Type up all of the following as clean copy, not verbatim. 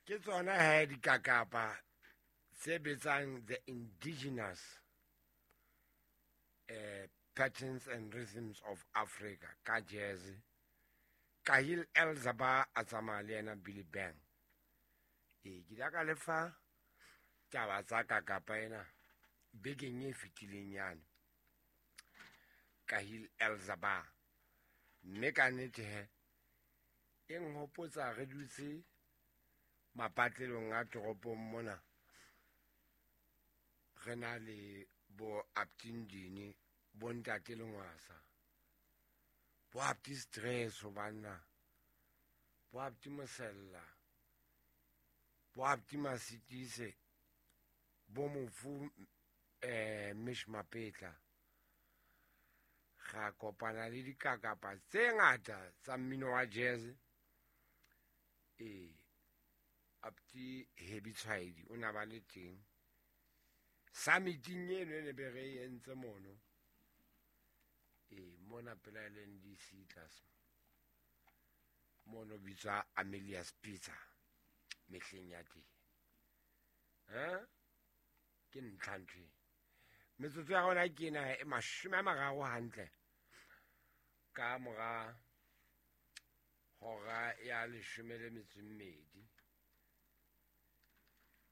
Ke tsona he dikakapa tse betsang the indigenous patterns and rhythms of Africa ka jazz. Kahil El Zaba a tsamaya le yena Billy Bang. Ee, ke ile ka lefa taba tsa kakapa ena bekeng e fetileng yane. Kahil El Zaba. Mme ka nnete he e nhopotsa re dutse mapatlelong a toropong mona re na le bo Aptindini, bo ntate Lengwasa, bo Apti Stress banna, bo Apti Mosella, bo Apti Masitise, bo mofu Mish Mapetla. Ga kopana le dikakapa tse ngata tsa mmino wa jazz. Ee, Apti Hebi Tshwaedi o na ba le teng summiting eno e ne be re e entse mono. Ee, mona pela LNDC tlase mono bitswa Amelia's Pizza mehleng ya teng. Ke ntlha ntho e. Metsotso ya rona ke ena e 30 hantle ka mora hora ya 12.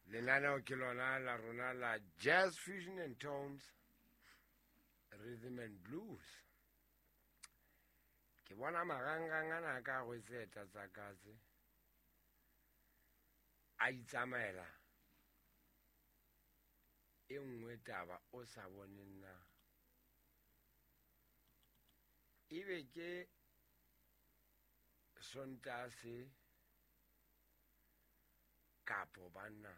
Lenaneo ke lona la rona la Jazz Fusion and Tones, Rhythm and Blues. Ke bona marangrang ana ka rwetse eta tsa katse a itsamaela e nngwe taba o sa boneng na ebe ke Sontase kapo banna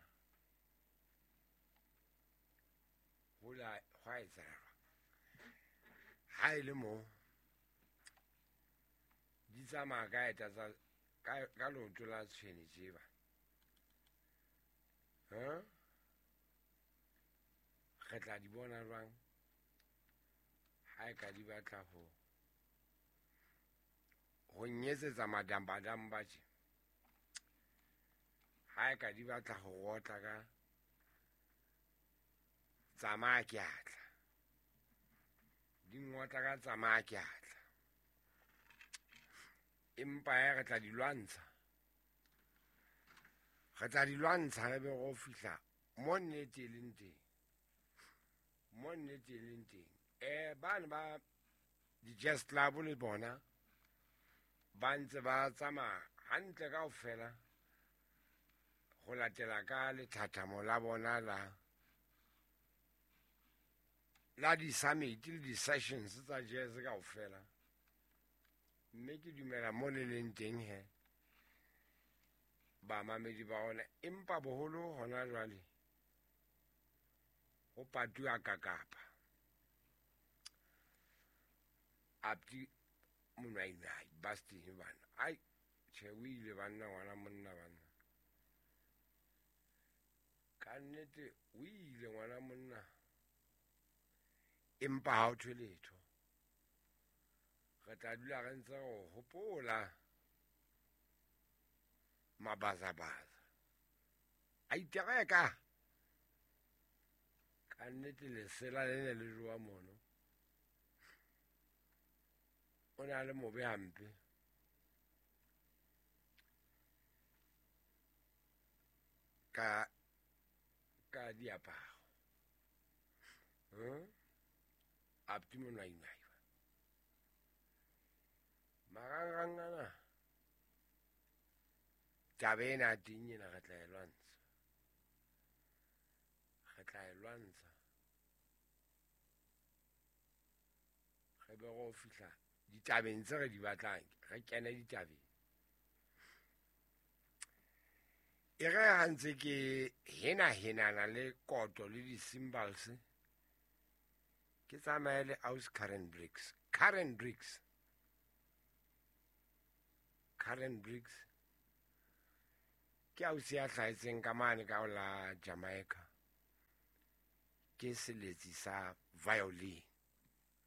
hola hwa etsahala ha e le mo di tsamaya ka eta tsa ka leoto la tshwene tjeba. Re tla di bona jwang ha e ka di batla ho nyetsetsa madambadamba tje? Ha e ka di batla ho rotla ka tsamaya ke atla, di ngotla ka tsamaya ke atla, empa e re tla di lwantsha, re tla di lwantsha re be go fihla mo nnete e leng teng, mo nnete e leng teng. Bane ba di-jazz club le bona ba ntse ba tsamaya hantle kaofela ho latela ka lethathamo la bona la di-summit le di-sessions tsa jazz kaofela. Mme ke dumela mo le leng teng he bamamedi ba ona, empa boholo hona jwale ho patuwa kakapa. Apti Monwainwai Bastin bana, ai tjhe o ile banna ngwana monna banna, ka nnete o ile ngwana monna, empa ha o thwe letho. Re tla dula re ntse re hopola mabazabaza a itereka. Ka nnete lesela le ne le jowa mono, o na le mobe hampe. Ka diaparo. Apti Monwainwai. Marangrang ana taba ena teng ena re tla e lwantsha, re tla e lwantsha re be go fihla ditabeng tse re di batlang, re kene ditabeng. E re ha ntse ke hena-henana le koto le di-cymbals, ke tsamaye le aus Karen Briggs. Karen Briggs. Karen Briggs ke ausi ya hlahetseng ka mane ka ho la Jamaica. Ke seletsi sa violin.